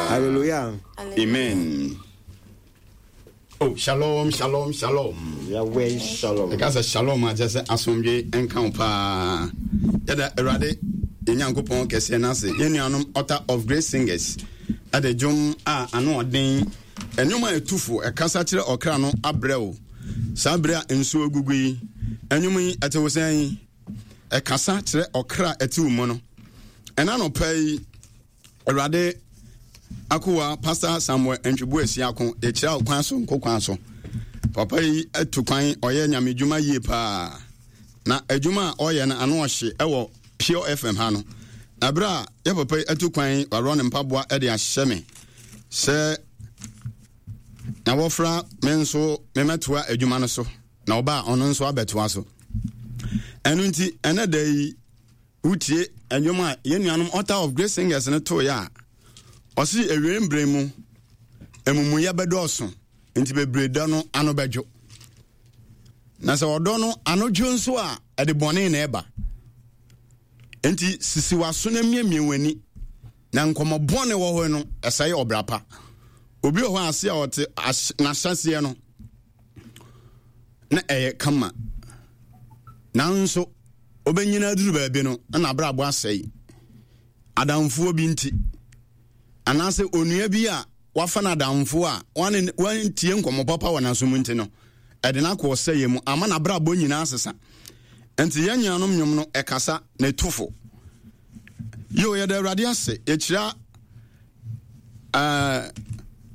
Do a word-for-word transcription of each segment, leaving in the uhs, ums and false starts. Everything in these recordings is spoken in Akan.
daa. Hallelujah. Amen. Oh, shalom, shalom, shalom. Yahweh shalom. Ɛka sɛ shalom a kyerɛ sɛ asomdwe nka wo paa. Yɛda Awurade yɛn Nyankopɔn kɛseɛ no ase. Yɛn nuanom Altar of Grace Singers ɛde dwom a ano ɔden ɛnwom a ɛtufo ɛkasa kyerɛ ɔkra no abrɛ wo. Saa berɛ a nsuo gugu yi, ɛnwom yi ɛte wo sɛn? Ɛkasa kyerɛ ɔkra a ɛte wo mu no. Ɛna nɔpa yi Awurade akowa Pastor Samuel Ntwibu Asiako yɛkyerɛ wo kwan so nko kwan so. Papa yi atu kwan ɔyɛ nyame dwuma yie paa. Na adwuma a ɔyɛ no ano ɔhye ɛwɔ Pure F M ha no. Na berɛ a yɛ papa yi atu kwan warɔ ne mpaboa de ahyɛ me sɛ na wɔfra me nso memɛtoa adwuma no so na ɔba a ɔno nso abɛtoa so. Ɛno nti ɛnɛ da yi wotie ɛnwom a yɛn nuanom Altar of Grace Singers no toeɛ a ɔse awiei mmerɛ mu amumuyɛ bɛdɔɔso nti bebree dɔ no ano bɛdwo. Na sɛ ɔdɔ no ano dwo nso a ɛde bɔne na ɛba. Nti sisi w'aso na miamia w'ani na nkɔmmɔ bɔne wɔ hɔ no ɛsɛe ɔbra pa. Obi wɔ hɔ ase a ɔte n'ahyɛseɛ no na ɛyɛ kama, nanso obɛnyina aduru baabi no na abrabɔ asɛe. Adamfoɔ bi nti anaasɛ onua bi a wafa no adamfoɔ a wantie nkɔmmɔ papa wɔ n'asom nti no ɛde no akɔ ɔsɛeɛ mu ama n'abrabɔ nyinaa sesa. Nti yɛn nuanom nnwom no ɛkasa na ɛtufo. Yo, yɛda Awurade ase. Yɛkyira uh,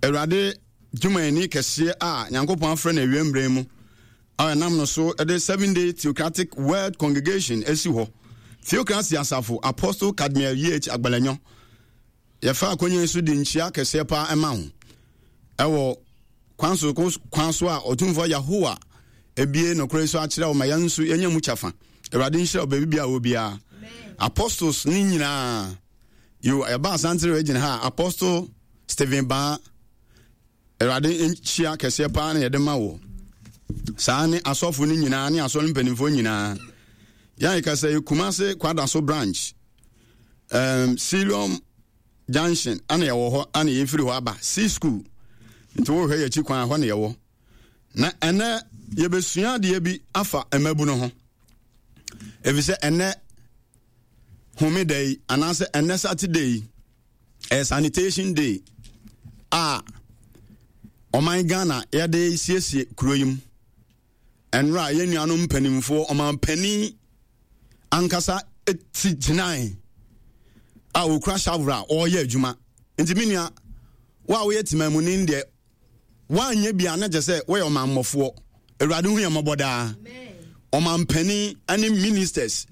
Awurade dwumayɛni kɛseɛ a Nyankopɔn afrɛ no awia mmerɛ mu a ɛnam no so de Seven Day Theocratic World Congregation asi hɔ. Theocracy asafo Apostle Cadmiel E H Agbalanyo. Yɛfa akonnwa so de nkyia kɛseɛ paa ɛma ho ɛwɔ kwan so kwan so a Ɔtumfoɔ Yahowa ebie nokorɛ so akyerɛ wo ma yɛn nso yɛnya mu kyɛfa. Awurade nhyira wo baabi bia wɔ biara. Apostles ne nyinaa yo ɛba Asante region ha Apostle Stephen Baa Awurade nhyia kɛseɛ paa na yɛde ma wo. Saa ne asɔfo no nyinaa ne asɔre mpanimfoɔ nyinaa. Yɛn kasa yi Kumase Kwadaso branch um, Siloam Junction ana yɛwɔ hɔ ana yɛfiri hɔ aba C school nti wohwɛ yɛakyi kwan hɔ na yɛwɔ. Na ɛnɛ yɛbɛsua adeɛ bi afa mmabunu ho. Ɛfiri sɛ ɛnɛ homeda yi anaasɛ ɛnɛ Saturday yi ɛyɛ sanitation day a ɔman Ghana yɛde siesie kuro yi mu. Ɛnora yɛn nuanom mpanimfoɔ ɔman panin ankasa ti gyinae a okura shovel a ɔreyɛ adwuma. Nti me nua wo a woyɛ temamuni deɛ woanyɛ bi a na kyerɛ sɛ woyɛ ɔmammɔfoɔ. Awurade hu yɛn mmɔbɔ daa. Ɔmampanin ne ministers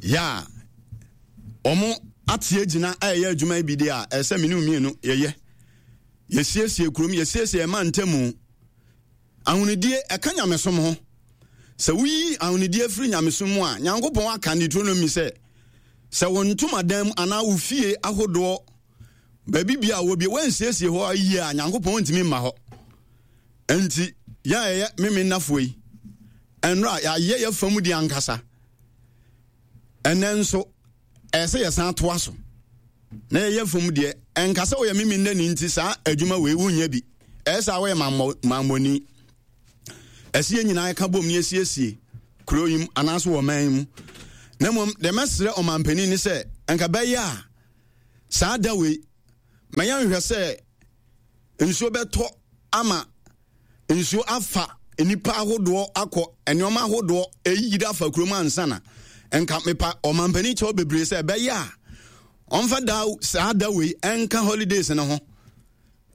yɛ a wɔn ate agyina a ɛyɛ adwuma yi bi deɛ a ɛsɛ me ne mmienu yɛyɛ. Yɛsiesie kurom, yɛsiesie ɛma ntamu. Ahonidie ɛka nyamesom ho. Sɛ woyi ahonidie firi nyamesom mu a, Nyankopɔn aka Deuteronomy sɛ sɛ wo ntomadan mu anaa wo fie ahodoɔ baabi bia a wɔbie wɔnsiesie hɔ yie a Nyankopɔn ntumi mma hɔ. Enti yɛn a yɛyɛ meme nnafoɔ yi ɛnora yɛayɛ yɛ fam di ankasa. Ɛnɛ nso ɛyɛ sɛ yɛsan toa so na yɛyɛ fam deɛ. Ɛnka sɛ woyɛ meme nnani nti saa adwuma wei wonyɛ bi. Ɛyɛ sɛ woyɛ mammɔni. Ɛsɛ yɛn nyinaa ka bom ne yɛsiesie kuro yi mu anaasɛ wɔ ɔman yi mu. Na mmom deɛ mɛsrɛ ɔmampanin ne sɛ ɛnka bɛyɛ a saa da wei ma yɛnhwɛ sɛ nsuo bɛtɔ ama nsuo afa nnipa ahodoɔ akɔ nneɛma ahodoɔ ɛyiri afa kurom ansa na nka mepa ɔmampanin kyɛw bebree sɛ ɛbɛyɛ a ɔmfa da saa da wei ɛnka holidays no ho,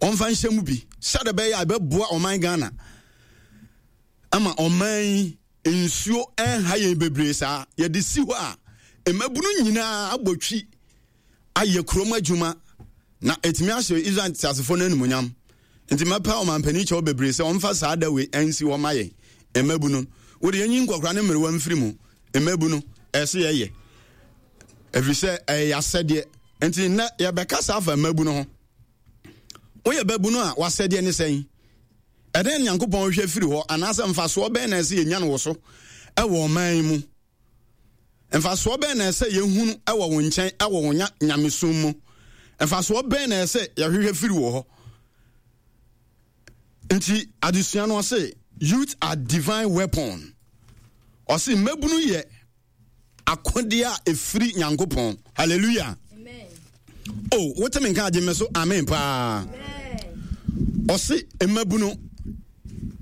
ɔmfa nhyɛ mu bi sɛde bɛyɛ a ɛbɛboa ɔman Ghana ama ɔman yi nsuo ɛnha yɛn bebree saa. Yɛde si hɔ a mmabunu nyinaa abɔ twi ayɛ kurom adwuma na ɛtumi ahyɛ Israel teasefoɔ no animuonyam. Nti mɛpɛ ɔmampanin kyɛw bebree sɛ ɔmfa saa da wei ɛnsi hɔ ma yɛn mmabunu. Wode yɛnyi nkɔkora ne mmerewa mfiri mu. Mmabunu ɛsɛ yɛyɛ ɛfiri sɛ ɛyɛ asɛdeɛ. Nti nnɛ yɛbɛka saa afa mmabunu ho. Woyɛ babunu a wasɛdeɛ ne sɛn? Ɛdɛn Nyankopɔn hwɛ firi hɔ anaasɛ mfasoɔ bɛn na ɛsɛ yɛnya no wɔ so ɛwɔ ɔman yi mu? Mfasoɔ bɛn na ɛsɛ yɛhunu ɛwɔ wo nkyɛn ɛwɔ wo nyamesom mu? Mfasoɔ bɛn na ɛsɛ yɛhwehwɛ firi wɔ hɔ? Nti adesua no, ɔse youth are divine weapon. Ɔse mmabunu yɛ akodeɛ a ɛfiri Nyankopɔn. Hallelujah. O, wote me nka, agye me so amen paa. Ɔse mmabunu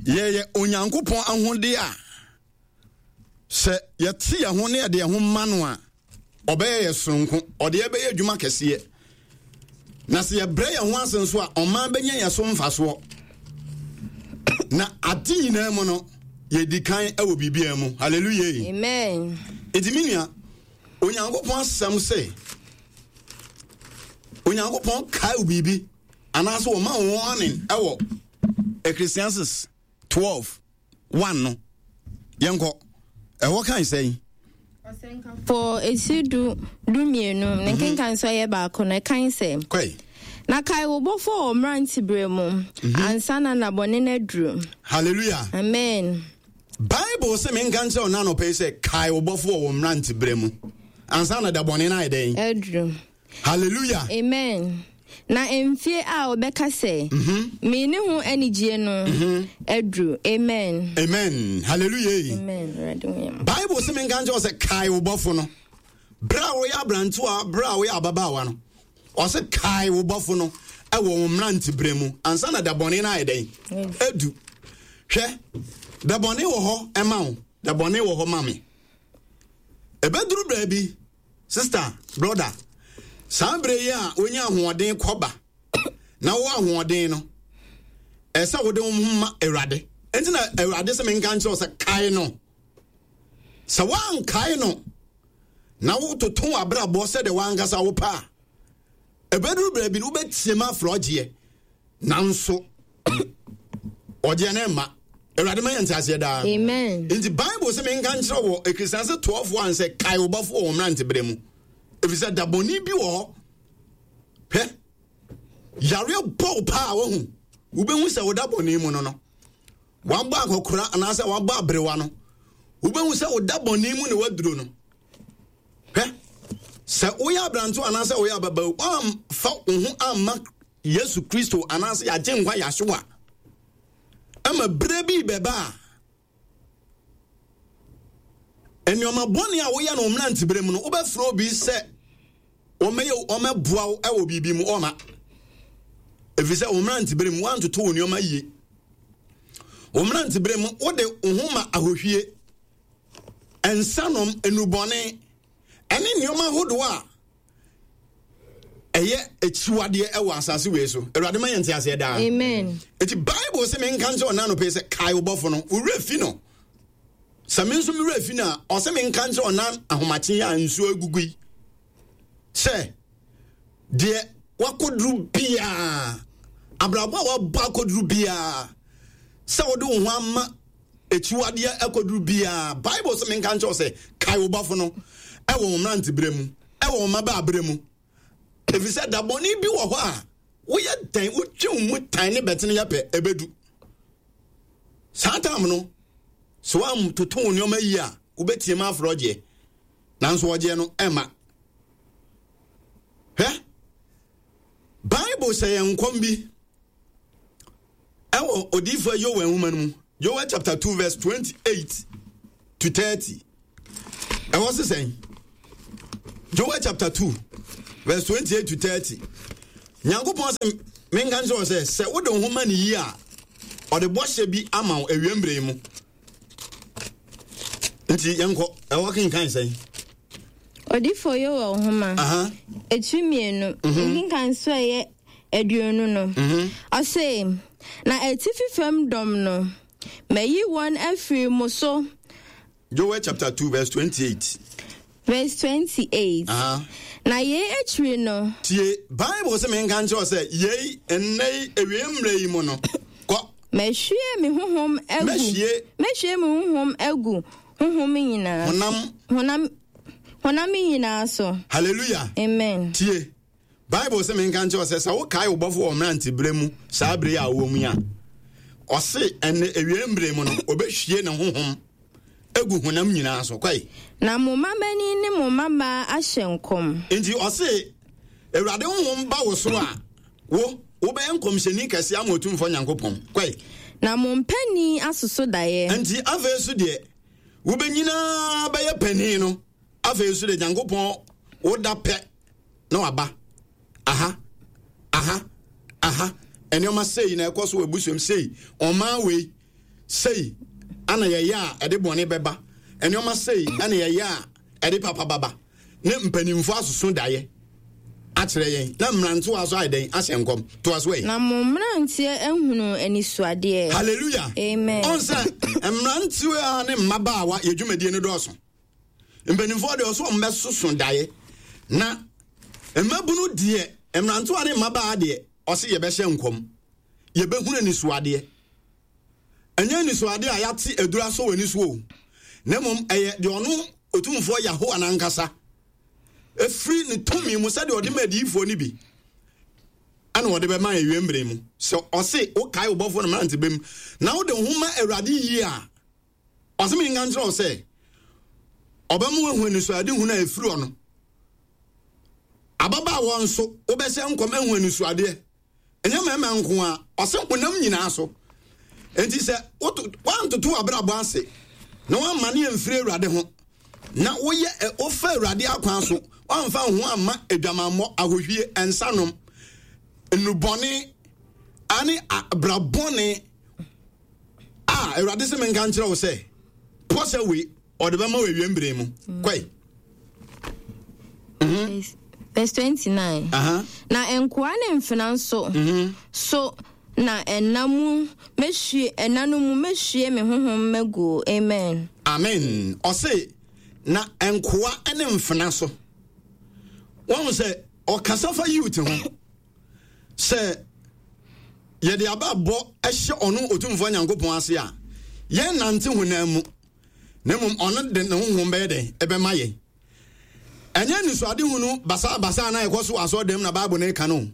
yɛyɛ Onyankopɔn ahodeɛ a sɛ yɛte yɛn ho ne yɛde yɛn ho ma no a, ɔbɛyɛ yɛ soronko, ɔde yɛbɛyɛ adwuma kɛseɛ. Na sɛ yɛbrɛ yɛn ho ase nso a, ɔman bɛnya yɛn so mfasoɔ. Na ade nyinaa mu no, yɛdi kan wɔ biribiara mu. Hallelujah. Amen. Enti me nua, Onyankopɔn asɛm sɛ Onyankopɔn kae wo biribi anaasɛ wɔma wo warning ɛwɔ Ecclesiastes twelve one no, yɛnkɔ ɛhɔ kan sɛn? For esi du du mmienu ne nkenkan nso ɛyɛ baako no, ɛkan sɛ, kɔe. Na kae wo bɔfo wɔ mmeranteberɛ mu ansa na nabɔne no aduru. Hallelujah. Amen. Bible sɛ menka nkyerɛ wo nanɔpɛ yi sɛ kae wo bɔfo wɔ wo mmeranteberɛ mu ansa na da bɔne no ayɛ dɛn? Aduru. Hallelujah. Amen. Na mfie a wɔbɛka sɛ menni ho anigyie no aduru. Amen. Amen, hallelujah. Amen. Awurade hu yɛn mmɔbɔ. Bible sɛ menka nkyerɛ wo sɛ kae wo bɔfo no berɛ a woyɛ aberantewa, berɛ a woyɛ ababaawa no. Ɔsɛ kae wo bɔfo no ɛwɔ wo mmeranteberɛ mu ansa na da bɔne no ayɛ dɛn? Adu. Hwɛ, da bɔne wɔ hɔ ɛma wo, da bɔne wɔ hɔ ma me. Ɛbɛduru baabi, sister, brother, saa berɛ yi a wonya ahoɔden kɔba na wowɔ ahoɔden no, ɛsɛ wode wo ho ma Awurade. Ɛnti na Awurade sɛ menka nkyerɛ wo sɛ kae no. Sɛ woankae no na wototo w'abrabɔ sɛdeɛ woankasa wopɛ a, ɛbɛduru baabi no wobɛtie ma afrɛ ɔgyeɛ, nanso ɔgyeɛ no mma. Awurade ma yɛ nteaseɛ daa. Amen. Nti Bible sɛ menka nkyerɛ wɔ Ecclesiastes twelve one sɛ kae wo bɔfo wɔ wo mmeranteberɛ mu, ɛfiri sɛ da bɔne bi wɔ hɔ. Hwɛ, yareɛ bɔ wo paa, wahu wobɛhu sɛ woda bɔne mu no no wabɔ akɔkora anaasɛ wabɔ aberewa no, wobɛhu sɛ woda bɔne mu ne waduro no. Hwɛ, sɛ woyɛ aberantew anaasɛ woyɛ ababaawa, woamfa wo ho amma Yesu Kristo anaasɛ yɛagye nkwa yɛahyew a, ɛma berɛ bi bɛba a nneɛma bɔne a woyɛ no wo mmeranteberɛ mu no, wobɛfrɛ obi sɛ ɔmɛyɛ ɔmɛboa wo ɛwɔ biribi mu, ɔma, ɛfiri sɛ wo mmeranteberɛ mu woantoto wo nneɛma yie. Wo mmeranteberɛ mu wode wo ho ma ahohwie, nsanom, nnubɔne ɛne nneɛma ahodoɔ a ɛyɛ akyiwadeɛ ɛwɔ asase wei so. Awurade ma yɛn te aseɛ daa. Amen. Eti Bible sɛ menka nkyerɛ ɔna anɔpɛ yi sɛ kae wo bɔfo no. Wo werɛ fi no, sɛ me nso me werɛ fi no a, ɔsɛ menka nkyerɛ ɔna ahomakye a nsuo agugu yi sɛ deɛ wakɔduru biaa, abrabɔ a wabɔ akɔduru biaa, sɛ wode wo ho ama akyiwadeɛ akɔduru biaa, Bible sɛ menka nkyerɛ wo sɛ kae wo bɔfo no ɛwɔ wo mmeranteberɛ mu, ɛwɔ wo mmabaaberɛ mu, ɛfiri sɛ da bɔne bi wɔ hɔ a woyɛ dɛn wotwe wo mu tan ne bɛtene yɛ pɛ, ɛbɛdu saa tam no, sɛ woamtoto wo nneɔma yie a, wobɛtie ma afrɛ ɔgyeɛ, nanso ɔgyeɛ no ɛma. Hwɛ, Bible hyɛ yɛn nkɔm bi ɛwɔ odiyifoɔ Yoel nwoma no mu, Joel chapter two verse twenty-eight to thirty. Ɛwɔ se sɛn? Joel chapter two verse twenty-eight to thirty. Nyankopɔn sɛ menka nkyerɛ wo sɛ sɛ wode wo ho ma ne yie a, ɔde bɔhyɛ bi ama wo awie mmerɛ yi mu. Nti yɛnkɔ ɛwɔ kenkan sɛn? Odifo Yoel nhoma Aha. etiri mmienu nkenkan so ɛyɛ aduonu no, ɔse, na atifi fam dɔm no, mayi wɔn afiri mo so. Joel chapter two verse twenty-eight. Verse twenty-eight. Aha. Na yei akyiri no, tie, Bible sɛ menka nkyerɛ wo sɛ yei nnɛ yi awie mmerɛ yi mu no, kɔ. Mɛhwie me honhom agu. Mɛhwie. Mɛhwie me honhom agu honhom nyinaa honam honam honam nyinaa so. Hallelujah. Amen. Tie, Bible sɛ menka nkyerɛ wo sɛ sɛ wokae wo bɔfo wɔ mmeranteberɛ mu, saa bere yi a wowɔ mu yi a, ɔse ɛnɛ awie mmerɛ mu no, ɔbɛhwie ne honhom agu honam nyinaa so. Kwae. Na mo mmabanin ne mo mmabaa ahyɛ nkɔm. Nti ɔse Awurade honhom ba wo so a, wo wobɛyɛ nkɔmhyɛni kɛseɛ ama Otumfoɔ Nyankopɔn. Kɔe. Na mo mpanin asoso daeɛ. Nti afei so deɛ wobɛnyinaa bɛyɛ panin no, afei so deɛ Nyankopɔn woda pɛ na waba. Aha, aha, aha. Nneɛma sei na ɛkɔ so wɔ abusuam sei, ɔman wei sei ana yɛyɛ a ɛde bɔne bɛba, nneɛma sei ana yɛyɛ a ɛde papa baba. Ne mpanimfoɔ asoso daeɛ akyerɛ yɛn, na mmerantewa nso ayɛ dɛn ahyɛ nkɔm. Toa so ɛ. Na mo mmeranteɛ ahunu anisoadeɛ. Hallelujah. Amen. Ɔn sɛ mmerantewa ne mmabaawa yɛ dwumadie no dɔɔso. Mpanimfoɔ deɛ ɔso wɔn bɛsoso daeɛ, na mmabunu deɛ, mmerantewa ne mmabaa deɛ, ɔse yɛbɛhyɛ nkɔm, yɛbɛhunu anisoadeɛ. Ɛnyɛ anisoadeɛ a yɛate aduru asɔ wɔ ani so o, na mmom ɛyɛ deɛ ɔno Otumfoɔ Yahowa n'ankasa ɛfiri ne tumi mu sɛdeɛ ɔde ma adiyifoɔ no bi ɛna ɔde bɛma awie mmerɛ mu. Sɛ ɔse wokae wo bɔfoɔ no mmerante bɛm na wode wo ho ma Awurade yie a, ɔse menka nkyerɛ wo sɛ ɔbɛma woahu anisoadehunu a ɛfiri ɔno. Ababaawa nso wobɛhyɛ nkɔm ahu anisoadeɛ, ɛnyɛ mmarima nko a, ɔse honam nyinaa so. Enti sɛ woantoto w'abrabɔ ase na woamma ne amfiri Awurade ho, na woyɛ wofa Awurade akwan so, woamfa wo ho amma adwamammɔ, ahohwie, nsanom, nnubɔne ane abrabɔne a, Awurade sɛ menka nkyerɛ wo sɛ pɔ sɛ wei ɔde bɛma wɔ awie mmerɛ mu. Kɔe. Mm-hmm. Verse twenty-nine. Uh-huh. Na nkoa ne mfena nso mm-hmm. so na ɛna mu mehwie ɛna no mu mehwie me honhom magu. Amen. Amen. Ɔse na nkoa ne mfena so. Wɔn sɛ ɔkasa fa youth ho sɛ yɛde aba bɔ ɛhyɛ ɔno Otumfoɔ Nyankopɔn ase a, yɛn nante honam mu, na mmom ɔno de ne honhom bɛyɛ dɛn ɛbɛma yɛn. Ɛnyɛ anisoadehunu basabasa na ɛkɔ so wɔ asɔredan na Bible no ka no.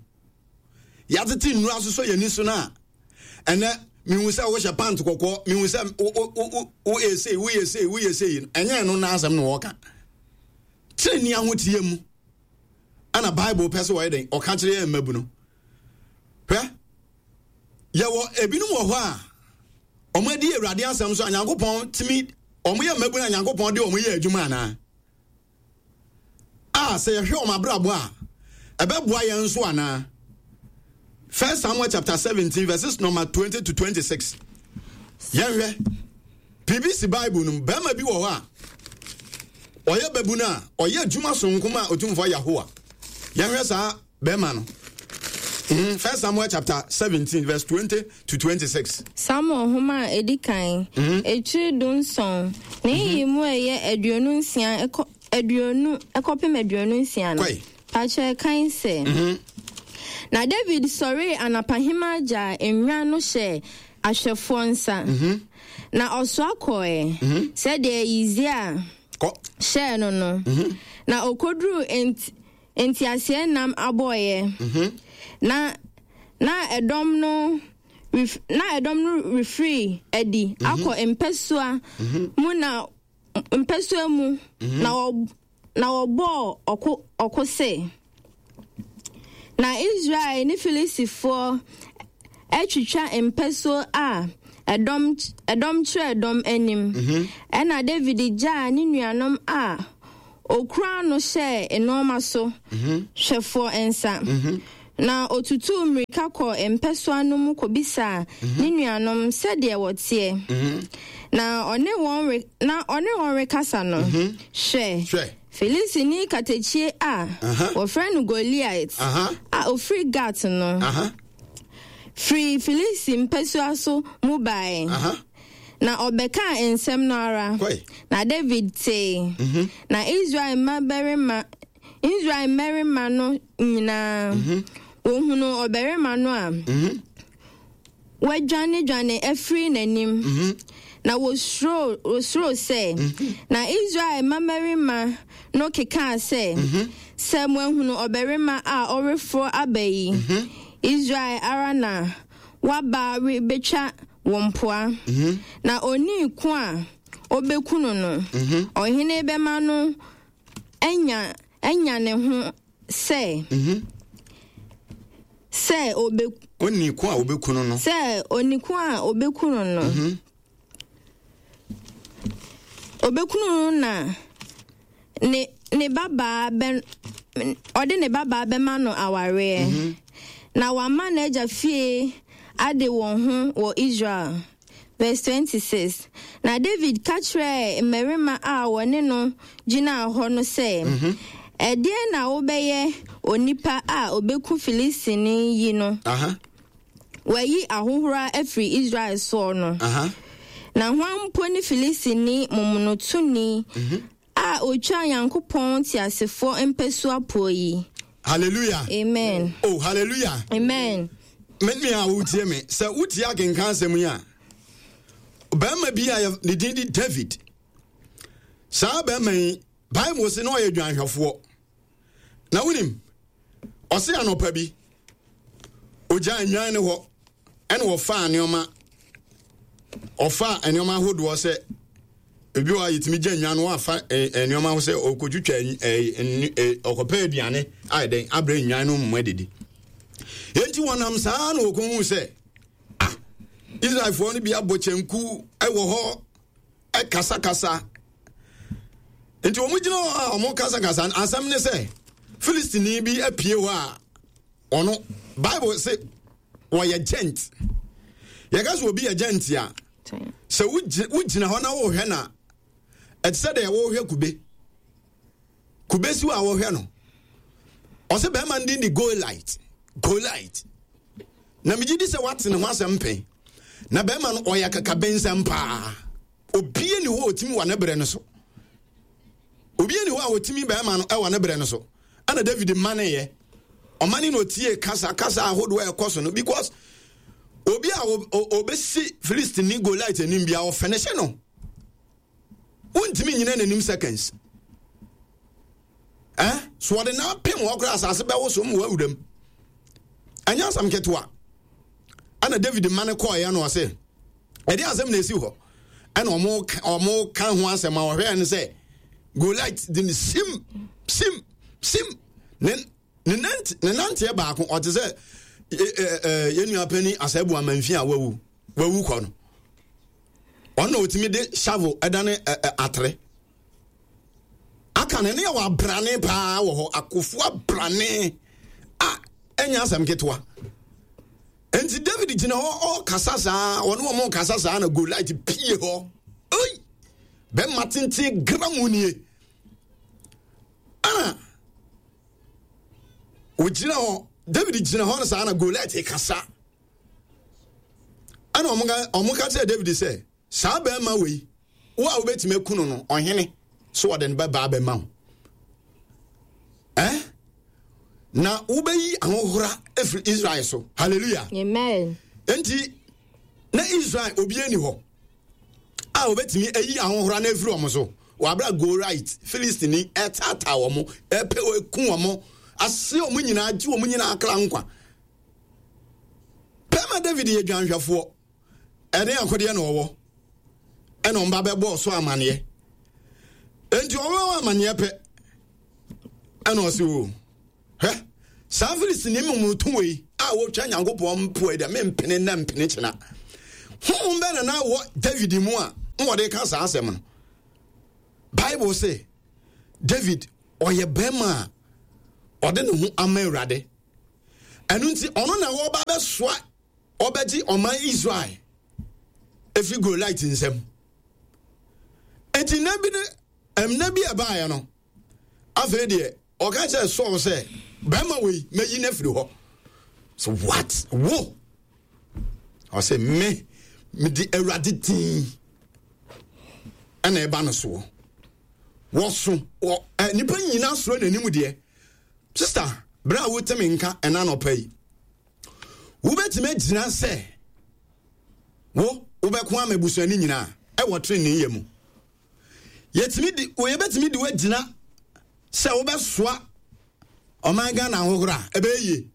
Yɛatete nnuru asosɔ yɛn ani so no a, ɛnɛ mehu sɛ wohyɛ pant kɔkɔɔ, mehu sɛ woyɛ sei, woyɛ sei, woyɛ sei. Ɛnyɛ ɛno na asɛm na wɔka. Tenenee ahoteɛ mu ɛna Bible pɛ sɛ wɔyɛ dɛn ɔka kyerɛ yɛn mmabu no. Hwɛ, yɛwɔ ebinom wɔ hɔ a wɔn adi Awurade asɛm so a Nyankopɔn tumi wɔn yɛ mmabu na Nyankopɔn de wɔn yɛ adwuma anaa? A sɛ yɛhwɛ wɔn abrabɔ a ɛbɛboa yɛn nso anaa? First Samuel chapter seventeen verses number twenty to twenty-six. Yɛnhwɛ P B C Bible no mu bɛrima bi wɔ hɔ a ɔyɛ babu no a ɔyɛ adwuma sononko ma Otumfoɔ Yahowa. Yɛnhwɛ saa bɛrima no. Mm, First Samuel chapter seventeen verse twenty to twenty-six. Samuel nhoma a edi kan, etiri dunson, ne yiyi mu ɛyɛ aduonu nsia ɛkɔ aduonu ɛkɔpem aduonu nsia no. Kɔe. Pakyɛ kan sɛ. Na David sɔree anapahema gyaa nnwan no hyɛɛ ahwɛfoɔ nsa. Na ɔsoa kɔe sɛdeɛ Yisia hyɛɛ no no. Na okoduruu nt nteaseɛnam abɔeɛ. Na na ɛdɔm no ref na ɛdɔm no refiri adi akɔ mpasua mu na mpasua mu na wɔ na wɔbɔɔ ɔko ɔko se. Na Israel ne Filistifoɔ atwitwa mpasuo a ɛdɔm ɛdɔm kyerɛ dɔm anim. Ɛna David gyaa ne nuanom a okura no hyɛɛ nneɛma so hwɛfoɔ nsa. Na otutuu mmirika kɔɔ mpasua no mu kɔbisaa ne nuanom sɛdeɛ wɔteɛ. Na ɔne wɔn re na ɔne wɔn rekasa no, hwɛ, Hwɛ. Filistini katakyie a wɔfrɛ no Goliat a ofiri Gat no firi Filisti mpasua so mu bae. Na ɔbɛkaa nsɛm no ara. Na David tee. Na Israel mmabarima Israel mmarima no nyinaa wɔhunuu ɔbarima no a wɔadwanedwane afiri n'anim. Na wɔsuro wɔsuro sɛ. Na Israel mmabarima no kekaa sɛ, sɛ moahunu ɔbarima a ɔreforɔ aba yi, Israel ara na waba rebɛtwa wɔn mpoa. Na onii ko a ɔbɛku no no, ɔhene bɛma no anya anya ne ho Sɛ. Mm-hmm. Sɛ obe. Oni ko a obeku no no. Sɛ oni ko a obeku no no. Mm-hmm. Obeku no na ne ne babaa bɛ ɔde ne babaa bɛma no awareɛ. Mm-hmm. Na wama n'agya fie ade wɔn ho wɔ Israel. Verse twenty-six. Na David ka kyerɛɛ mmarima a wɔne no gyinaa hɔ no sɛ, mm-hmm. Ɛdeɛn na wobɛyɛ onipa a obeku Filistini yi no? Uh-huh. Wayi ahohora afiri Israel soɔ no. Uh-huh. Na hwan mpo ne Filistini momonotoni mm-hmm. a otwa Nyankopɔn teasefoɔ mpasua poɔ yi? Hallelujah. Amen. Oh, hallelujah. Amen. Me nua a wotie me, sɛ wotie akenkan asɛm yi a, barima bi a ne din di David. Saa barima yi, Bible se na ɔyɛ dwanhwɛfoɔ. Na wonim, ɔse anɔpa bi, ogyaa nnwan no hɔ, ɛna ɔfaa nneɛma, ɔfaa nneɛma ahodoɔ sɛ ebi wɔ a yɛtumi gya nnwan no wafa nneɛma ho sɛ ɔkɔtwitwa ɔkɔpɛ aduane ayɛ dɛn abrɛ nnwan no mu adidi. Enti wɔnam saa na wɔkɔhu sɛ ah Israelfoɔ no bi abɔ kyɛnku wɔ hɔ ɛkasakasa. Nti wɔn gyina hɔ a wɔn kasakasa asɛm ne sɛ Filistini bi apue hɔ a ɔno Bible sɛ wɔyɛ gent. Yɛka sɛ obi yɛ gent a sɛ wogyina hɔ na wohwɛ na ɛte sɛ deɛ wohwɛ kube. Kube si hɔ a wɔhwɛ no. Ɔsɛ bɛrima no din de Goliath. Goliath. Na megye di sɛ wate ne ho asɛm pɛn. Na bɛrima no ɔyɛ akakabensɛm paa. Obie ni hɔ a ɔtumi wɔ ne berɛ no so. Obie ni hɔ a ɔtumi bɛrima no wɔ ne berɛ no so. Ɛna David maneeɛ. Ɔmane na ɔtie kasa kasa ahodoɔ a ɛkɔ so no because obi a ɔbɛsi Filistini Goliath anim bia ɔfɛnɛhyɛ no. Wontumi nyina n'anim seconds. Eh? So ɔde n'apem hɔ koraa asase bɛwo so ma wawuram. Ɛnyɛ asɛm ketewa. Ɛna David ma no kɔɔeɛ no ɔse ɛde asɛm na ɛsi hɔ. Ɛna ɔmo ɔmo ka ho asɛm a ɔhwɛɛ no sɛ Goliath de ne sim sim sim ne ne nante ne nanteɛ baako ɔte sɛ yɛn nua panyin Asɛbu Amanfi a wawu wawu kɔ no. Ɔno na ɔtumi de shovel ɛdane atere. Aka no ne yɛ wɔ abrane paa wɔ hɔ akofo abrane a ɛnyɛ asɛm ketewa. Nti David gyina hɔ ɔkasa saa ɔne wɔn kasa saa na Goliath pie hɔ. Oi! Bɛma tenten gram nie. Ana ogyina hɔ David gyina hɔ no saa na Goliath kasa. Ɛna wɔn ka kyerɛ David sɛ saa bɛrima wei wo a wobɛtumi aku no no ɔhene so wɔde no bɛbaa bɛma wo eh? Na wobɛyi ahohora afiri Israel so. Hallelujah. Amen. Enti na Israel obi ani hɔ a wobɛtumi ayi ahohora no afiri wɔn so. Wɔabra Goliath Filistini ɛtaataa wɔn ɛpɛ ɛku wɔn ase wɔn nyinaa gye wɔn nyinaa kra nkwa. Bɛrima David yɛ dwanhwɛfoɔ. Ɛne akodeɛ na ɔwɔ. Ɛna ɔmba bɛbɔɔ so amaneɛ. Enti ɔwɔ amaneɛ pɛ. Ɛna ɔse o. Hwɛ, saa Filistini mmomoto wei a wɔtwa Nyankopɔn mpoa yi deɛ mempene na mpene kyena. Honhom bɛn na na wɔ David mu a na wɔde ka saa asɛm no? Bible se David ɔyɛ bɛrima a ɔde ne ho ama Awurade. Ɛno nti ɔno na wɔba bɛsoa ɔbɛgye ɔman Israel efi Goliath nsam. Enti nna bi ne nna bi a ɛbaeɛ no, afei deɛ ɔka kyerɛ Saul sɛ bɛrima wei mɛyi no afiri hɔ. So what? Wo? Ɔsɛ me mede Awurade din ɛna ɛba no soɔ. Wɔso wɔ ɛ nipa nyinaa soro n'anim deɛ. Sister, bere a wote me nka ɛna anɔpa yi, wobɛtumi agyina sɛ wo wobɛko ama abusuani nyinaa ɛwɔ trenee yɛ mu. Yɛtumi di yɛbɛtumi de woagyina sɛ wobɛsoa ɔman Ghana ahohoro a ɛbɛyɛ yie.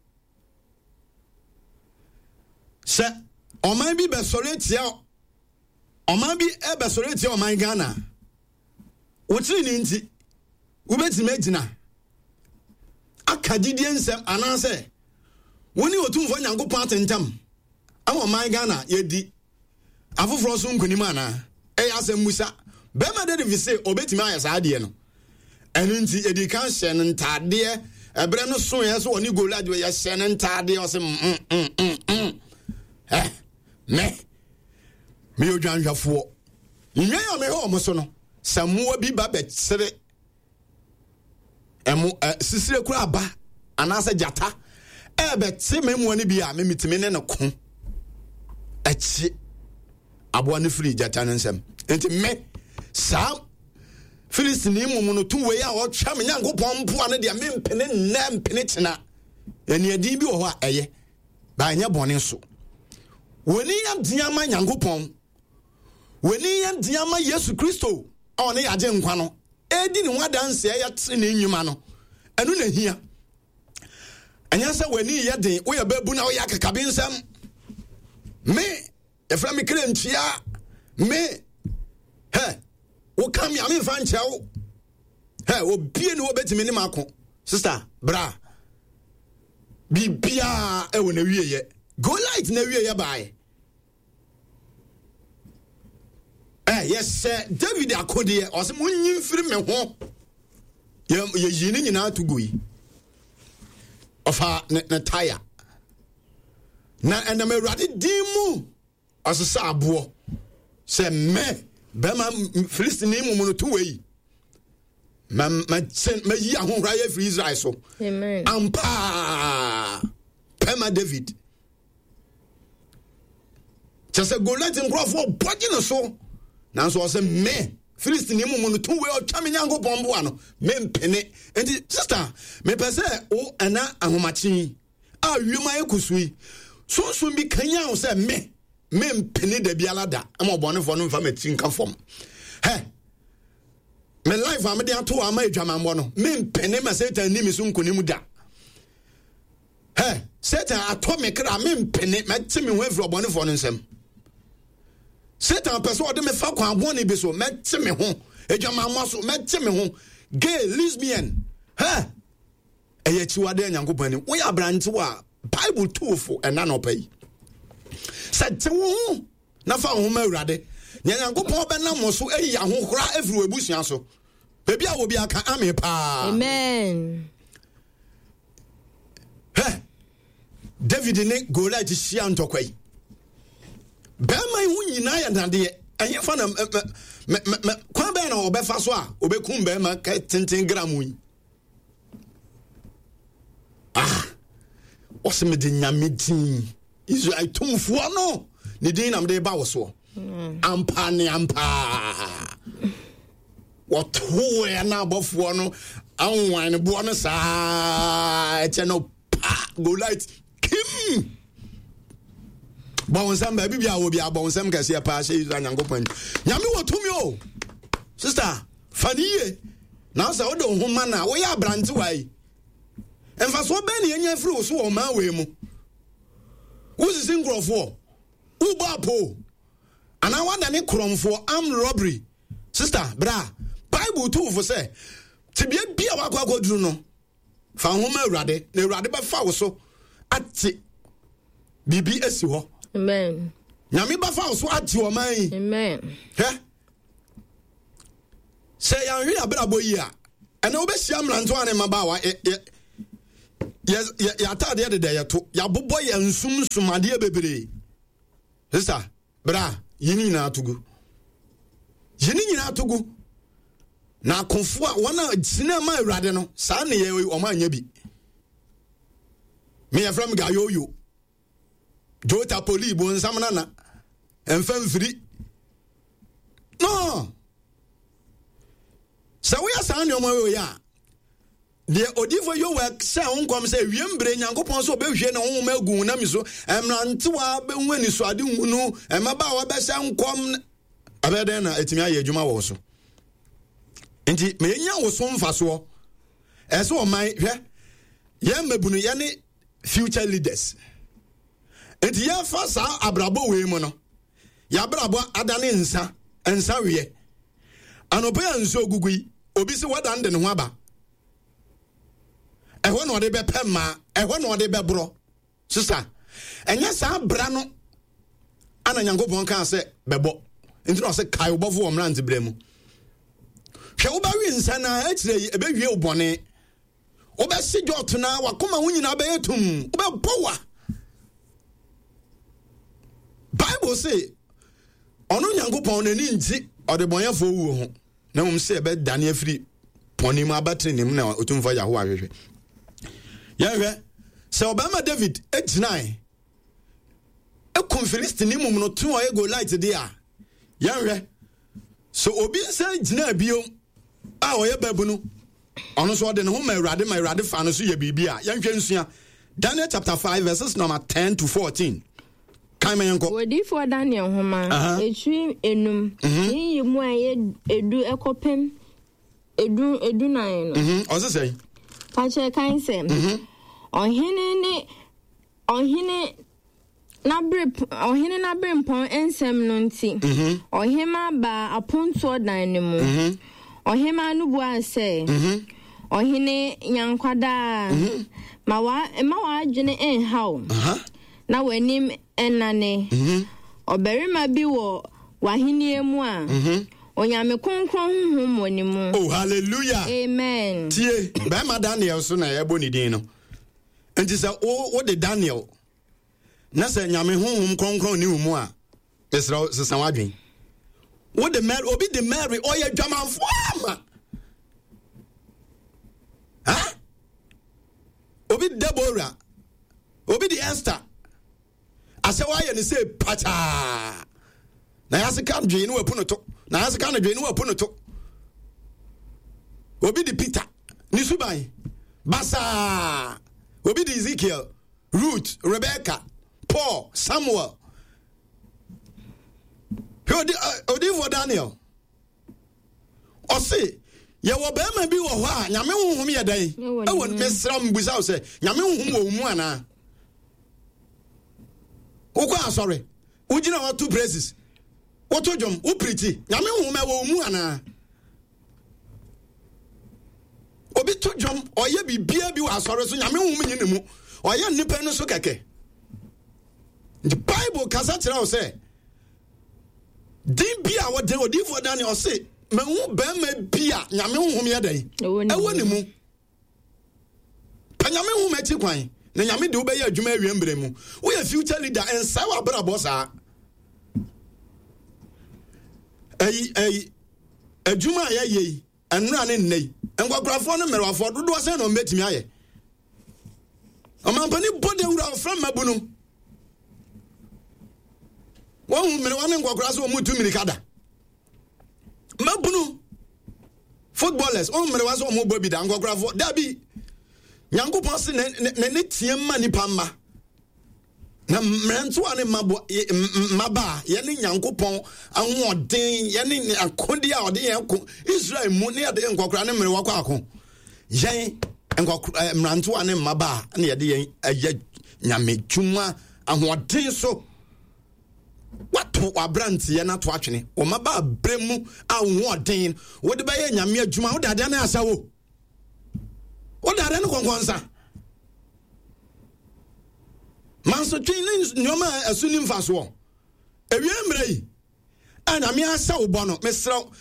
Sɛ ɔman bi bɛsɔre atia ɔman bi ɛbɛsɔre atia ɔman Ghana, wo trenee nti wobɛtumi agyina Aka gyidie nsɛm anaasɛ wo ne Otumfoɔ Nyankopɔn atentam ama ɔman Ghana yɛdi afoforɔ so nkonim anaa? Ɛyɛ asɛm musa. Bɛrima David se ɔbɛtumi ayɛ saa adeɛ no. Ɛno nti yɛdi kan hyɛ no ntaadeɛ. Ɛberɛ no soeɛ so ɔne Goliath yɛhyɛ no ntaadeɛ ɔse mm mm mm mm. Eh, me meyɛ odwanhwɛfoɔ. Nnwan a mehwɛ wɔn so no, sɛ mmoa bi ba bɛkyere ɛmo ɛ sisire kura aba anaasɛ gyata ɛbɛte me mmoa no bi a memetumi ne no ko akyi aboa no firi gyata no nsam. Nti me saa Filistini mu no to wei a ɔtwa me Nyankopɔn mpoa no deɛ mempene nnɛ mpene kyena. Aniɛden bi wɔ hɔ a ɛyɛ ba ɛnyɛ bɔne so. W'ani yɛ den ama Nyankopɔn, w'ani yɛ den ama Yesu Kristo a ɔne yɛagye nkwa no ɛdi ne ho adanseɛ yɛte ne nnwuma no, ɛno na hia. Ɛnyɛ sɛ w'ani yɛ den woyɛ baabu na woyɛ akakabe nsɛm. Me yɛfrɛ me kere nkyia me hɛ woka me a memfa nkyerɛ wo hɛ obie ne wɔbɛtumi ne mako. Sister bra biribiaa ɛwɔ na wieyɛ. Goliath na wieyɛ baeɛ. Eh, yɛhyɛ David akodeɛ ɔsɛ monyi mfiri me ho. Yɛyi ne nyinaa to gu yi. Ɔfa ne, ne taya na ɛnam Awurade din mu ɔsesa aboɔ sɛ mɛ bɛrima Filistini mu no to wei mayi ahohora yɛ firi Israel so. Ampaa pɛma David kyɛ sɛ Goliath nkurɔfoɔ bɔgye no so nanso ɔsɛ me Filistini mu no to wei ɔtwa me Nyankopɔn boa no mempene. Nti sister mepɛ sɛ wo ɛna ahomakye a wiem ayɛ kusu yi sunsun bi kanyan wo sɛ me mempene da biara da ama ɔbɔnefoɔ no mfa m'akyi nka fam. Hɛ me life a mede ato ama adwamammɔ no mempene ma Satan ni me so nkonim da. Hɛ Satan atɔ me kra mempene mɛte me ho afiri ɔbɔnefoɔ no nsɛm. Satan pɛ sɛ ɔde me fa kwan bɔne bi so mɛte me ho adwamammɔ so mɛte me ho gay lesbian. Hɛ ɛyɛ akyiwadeɛ Nyankopɔn anim. Woyɛ aberantewa a Bible tuofo ɛna na ɔpɛ yi sɛ te wo ho na fa wo ho ma Awurade. Nea Nyankopɔn bɛnam mo so ayi ahohora afiri wɔ abusua so. Baabi a obi aka ame paa. Amen. Hɛ David ne Goliath hyia ntɔkwa yi. Bɛrima yi ho nyinaa yɛ dadeɛ. Ɛnyɛ fa na kwan bɛn na ɔbɛfa so a ɔbɛkum bɛrima tenten gram yi. Ah, ɔsɛ mede Nyame din Israel tumfoɔ no ne din na mede ba wo soɔ. Ampa ne ampa wɔtoeɛ na abɔfoɔ no anwan no boɔ no saa ɛkyɛ no pa Goliath kim bɔ wo nsɛm baabi bia wɔ bia bɔ wo nsɛm kɛseɛ paa hyɛ Israel Nyankopɔn. Nyame wɔ tumi o sister fa ne yie na sɛ wode wo ho ma no a woyɛ aberantewa yi mfasoɔ bɛn ne yɛnya afiri wo so wɔ ɔman wei mu. Wosisi nkurɔfoɔ wobɔ apo anaa woadane korɔmfoɔ armed robbery. Sister bra Bible tu fo sɛ tebea bi a wakɔ akɔduru no fa ho ma Awurade na Awurade bɛfa wo so ate biribi asi hɔ. Amen. Nyame bɛfa wo so ate ɔman yi. Amen. Hwɛ sɛ yɛanhwɛ yɛabrabɔ yi a ɛnɛ wobɛhyia mmerantewa ne mmabaawa yɛataadeɛ deda yɛto yɛabobɔ yɛ nsumsumadeɛ bebree. Sister bra yi ne nyinaa to gu. Yi ne nyinaa to gu. Na akofoɔ a wɔn a gyina ma Awurade no saa ne yɛ wɔn anyɛ bi. Meyɛfrɛ m gayoyo Jota poli bonsam nana ɛmfa mfiri no. Sɛ woyɛ saa nneɛma wei a deɛ odifo Yoel hyɛ ho nkɔm sɛ wiem bere Nyankopɔn sɛ ɔbɛhwie ne honhom agu wo nam so mmerantewa bɛhu anisoade hunu mmabaawa bɛhyɛ nkɔm ɛbɛyɛ dɛn na ɛtumi ayɛ adwuma wɔ wo so. Nti meyɛnya wo so mfasoɔ. Ɛsɛ ɔman hwɛ yɛn mmabunu yɛne future leaders. Nti yɛfa saa abrabɔ wei mu no yɛabrabɔ adane nsa nsa weɛ. Anɔpɛ a nsuo gugu yi obi sɛ wadan de ne ho aba. Ɛhɔ na ɔde bɛpɛ mmaa, ɛhɔ na ɔde bɛborɔ. Sisa, ɛnyɛ saa bra no ana Nyankopɔn kaa sɛ bɛbɔ. Nti na ɔsɛ kae wobɔfo wɔ mmerante berɛ mu. Hwɛ, wobɛwe nsa na akyerɛ yi ɛbɛwie wo bɔne. Wobɛhye dwɔto na wakoma wo nyinaa bɛyɛ tum. Wobɛbɔ wa. Bible se ɔno Nyankopɔn n'ani ngye ɔdebɔnyɛfoɔ wuo ho, na mmom sɛ ɛbɛdane afiri pɔne mu aba tenenee mu na Otumfoɔ Yahowa hwehwɛ. Yɛhwɛ sɛ ɔbarima David gyinae ekum Filistini mum no to ɔyɛ Goliath de a, yɛhwɛ sɛ obi nsa gyina bio a ɔyɛ babunu, ɔno nso ɔde ne ho ma Awurade ma Awurade fa no so yɛ biribi a, yɛnhwɛ nsua. Daniel chapter five verses number ten to fourteen. Kan ma yɛnkɔ. Odiyifoɔ Daniel nhoma, etiri enum, ne yi mu a ɛyɛ edu ɛkɔpem edu edunan no. Ɔse sɛn? Pakyɛ kan sɛ, ɔhene ne ɔhene n'abere ɔhene n'aberempɔn nsɛm no nti, ɔhemmaa baa apontoɔ dan no mu. Ɔhemmaa no buaa sɛ, Ɔhene nyankwadaa, ma wa mma w'adwene nha wo, na w'anim nnane. Ɔbarima bi wɔ w'ahennie mu a, Onyame kronkron honhom wɔ ne mu. Oh, hallelujah. Amen. Tie, bɛrima Daniel so na ɛbɔ ne din no. Nti sɛ wo wo de Daniel na sɛ Nyame honhom kronkron ne wo mu a, mesrɛ wo sesa w'adwen. Wo de Mary, obi de Mary ɔyɛ dwamanfo ama. Ha? Obi de Deborah, obi de Esther. Asɛ wayɛ ne sɛ pataa. Na yɛase ka dwee ne wapu no to. Na yɛase ka no dwee ne wapu no to. Obi de Peter ne suban basaa. Obi de Ezekiel, Ruth, Rebecca, Paul, Samuel. Hwɛ odi odiyifoɔ Daniel. Ɔse yɛwɔ barima bi wɔ hɔ a Nyame honhom yɛ dɛn? Ɛwɔ mesrɛ mbusa wo sɛ Nyame honhom wɔ wo mu anaa? Wokɔ asɔre, wogyina hɔ to praises, woto dwom, wo pirikyi, Nyame honhom ɛwɔ wo mu anaa? Obi to dwom, ɔyɛ biribiara bi wɔ asɔre so, Nyame honhom nyi ne mu. Ɔyɛ nnipa no so kɛkɛ. Nti Bible kasa kyerɛ wo sɛ din bi a wɔde odiyifoɔ Daniel ɔse mahu barima bi a Nyame honhom yɛ dɛn? Ɛwɔ ne mu. Pa Nyame honhom akyi kwan na Nyame de wobɛyɛ adwuma awie mmerɛ mu. Woyɛ future leader, ɛnsɛe w'abrabɔ saa. Ɛyi ɛyi adwuma a yɛyɛ yi ɛnora ne nnɛ yi nkwakorafoɔ ne mmerewafoɔ dodoɔ sɛn na wɔbɛtumi ayɛ? Ɔmampanin bɔ dawuro a ɔfrɛ mmabunu. Wɔhu mmerewa ne nkwakoraa sɛ wɔn tu mmirika da. Mmabunu footballers wɔn mmerewa sɛ wɔn bɔ bi da nkwakorafoɔ dabi. Nyankopɔn se n'ani teɛ ma nipa mma. Na mmerantewa ne mmabaa yɛne Nyankopɔn ahoɔden yɛne akodeɛ a ɔde yɛn ko Israel mu ne yɛde nkɔkora ne mmerewa kɔ ako. Yɛn nkɔkora mmerantewa ne mmabaa ne yɛde yɛn ɛyɛ nyame dwuma ahoɔden so. Wato w'aberanteɛ no ato atwene wɔ mmabaa berɛ mu a ahoɔden wode bɛyɛ nyame adwuma wode adeɛ no asa wo. Wode adeɛ no kɔnkɔnsa. Mansotwe ne nneɛma a ɛso ni mfasoɔ. Ewie mmerɛ yi a nyame ahyɛ wo bɔ no, mesrɛ wo,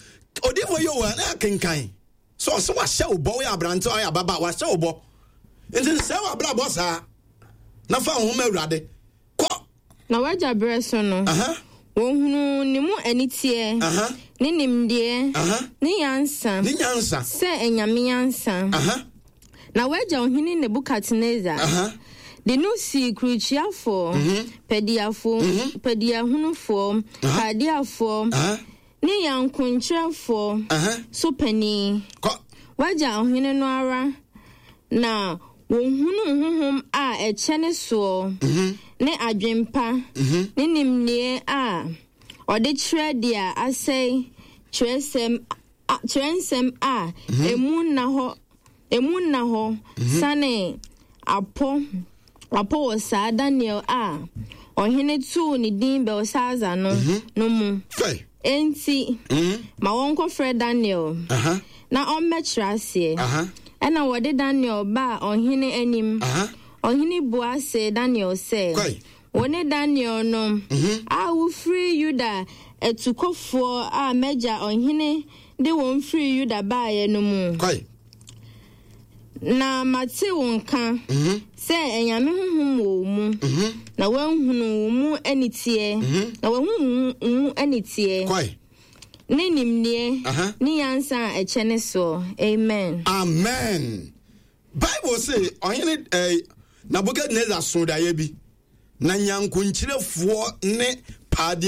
odiyifoɔ yi wɔ na akenkan sɛ ɔsɛ wahyɛ wo bɔ, woyɛ aberante ɔyɛ ababa, wahyɛ wo bɔ. Nti nsɛe w'abrabɔ saa na fa wo ho ma Awurade. Kɔ. Na w'agya berɛ so no, wɔhunuu ne mu aniteɛ, ne nimdeɛ, ne nyansa, ne nyansa, sɛ anyame nyansa. Na w'agya ɔhene Nebukadnesar de no sii kurukyiafoɔ, padiafoɔ, padiahunufoɔ, Kaldeafoɔ, ne yankonkyerɛfoɔ so panin. W'agya ɔhene no ara na wɔhunuu honhom a ɛkyɛ ne soɔ, ne adwempa, ne nimdeɛ a ɔde kyerɛ deɛ asɛe twerɛsɛm twerɛnsɛm a emu nna hɔ emu nna hɔ sane apɔ apɔ wɔ saa Daniel a ɔhene too ne din Belsasar no no mu. Enti ma wɔnkɔfrɛ Daniel na ɔmmɛkyerɛ aseɛ. Ɛna wɔde Daniel baa ɔhene anim. Aha. Ɔhene bua see Daniel sɛ, Kwae. Wo ne Daniel no a wofiri Yuda atukɔfoɔ a m'agya ɔhene de wɔn firi Yuda baeɛ no mu. Kwae. Na mate wo nka sɛ anyame honhom wɔ wo mu, na woahunu wo mu aniteɛ, na woahu wo mu aniteɛ Kwae. ne nimdeɛ Aha. ne nyansa a ɛkyɛ ne soɔ. Amen. Amen. Bible se ɔhene eh, Nebukadnezar so daeɛ bi na nyankonkyerɛfoɔ ne paadeɛ